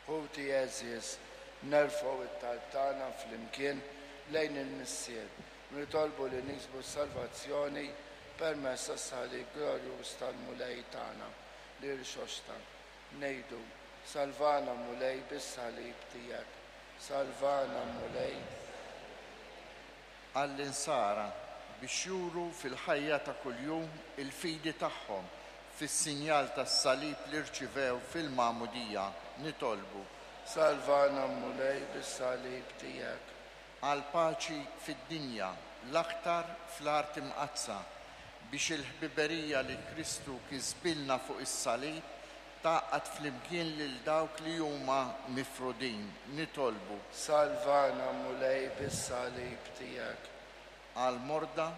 Ħuti għeżież, nerfgħu t-talb tagħna flimkien lejn il-Missier u nitolbu li niksbu s-salvazzjoni permezz tas-salib glorjuż tal-Mulej tagħna li rxoxta. Ngħidu, Salvana Mulej bis-salib tiegħek. Salvana Mulej. Għall-Insara biex juru fil-ħajja ta' kuljum il-fidi tagħhom fis-sinjal tas-salib li rċivew fil-Magħmudija, nitolbu. Salvana Mulej bis-salib tiegħek. Għall-paċi fid-dinja, l-aktar fl-Art Imqaddsa, biex il-ħbiberija li Kristu kisbilna fuq is-salib tgħaqqad flimkien lil dawk li huma mifrudin, nitolbu. Salvana Mulej bis-salib tiegħek. Għall-morda,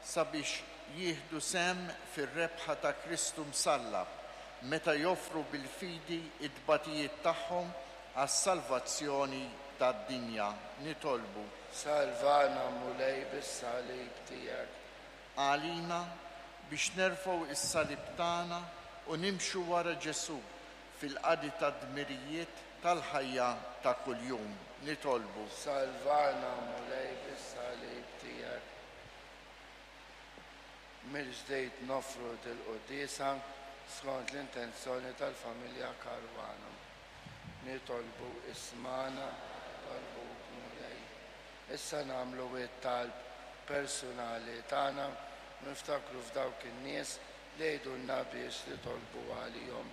sabiex jieħdu sehem fir-rebħa ta' Kristu msallab, meta joffru bil-fidi t-tbatijiet tagħhom għas-salvazzjoni tad-dinja, nitolbu. Salvana Mulej bis-salib tiegħek. Għalina, biex nerfgħu s-salib tagħna u nimxu wara Ġesù fil-qadi tad-dmirijiet tal-ħajja ta' kuljum, nitolbu. Salvana Mulej bis-salib tiegħek. Mill-ġdid noffru dil-quddiesa skont l-intenzjoni tal-familja Caruana. Nitolbu ismagħna, nitolbuk Mulej. Issa nagħmlu t-talb persunali tagħna u niftakru f'dawk in-nies li jgħidulna biex nitolbu għalihom.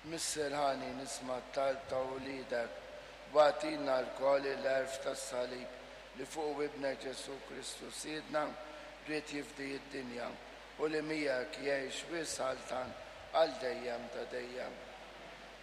Missier ħanin, isma' t-talb ta' uliedek u agħtina lkoll il-għerf tas-salib li fuqu Ibnek Ġesù Kristu Sidna ried jifdi d-dinja u li miegħek jgħix u jsaltan għal dejjem ta' dejjem.